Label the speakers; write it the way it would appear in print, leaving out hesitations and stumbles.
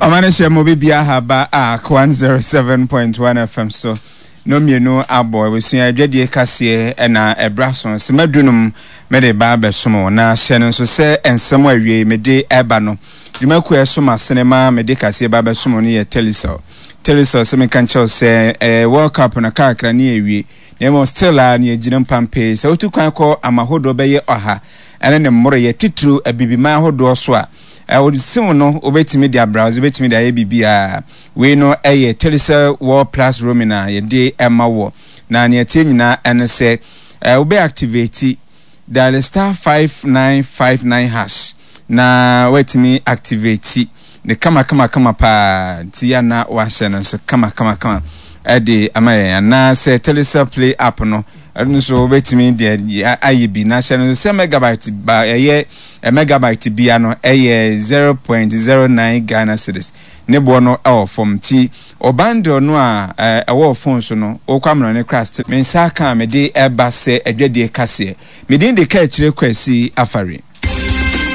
Speaker 1: Ɔma no hyɛ mo bibia ha ba Ark 107.1 FM so no mmienu abɔ abusua adwadie kaseɛ ɛna ɛbra so sima dunum mede ba abɛsom wo na hyɛ no nso sɛ nsɛm a awiei mede ɛba no dwumakuo a ɛsom asene ma mede kaseɛ ba abɛsom wo no yɛ Telecel. Telecel sɛ meka nkyɛw sɛ ɛɛ World Cup no kakra ne awie na mmom still a ne agyina mpampee sɛ wotu kwan kɔ amahodoɔ bɛyɛ ɔha ɛne ne mmoroyɛ titiriw abibiman ahodoɔ so a Wo sim no wobɛtumi de abrowse, wobɛtumi de ayɛ biribiara. Wei no yɛ Telecel World Plus Roaming a yɛde ma wɔ. Na nea ɛteɛ nyinaa ɛne sɛ wobɛ activate, dial *5959 hash na woatumi activate ne kama kama kama paa nti ya na wahyɛ no nso kama kama kama ɛde ama yɛn anaasɛ Telecel Play app no ɛno nso wobɛtumi de ayɛ bi na hyɛ no nso sɛ megabyte ba ɛyɛ Megabyte bia no yɛ 0.09 Ghana cedis. Ne boɔ no wɔ fam nti wo bundle no a ɛwɔ wo phone so no wokɔ amanɔne koraa still. Me nsa aka a mede ba sɛ adwadie kaseɛ. Me din de Kaakyire Kwasi Afari.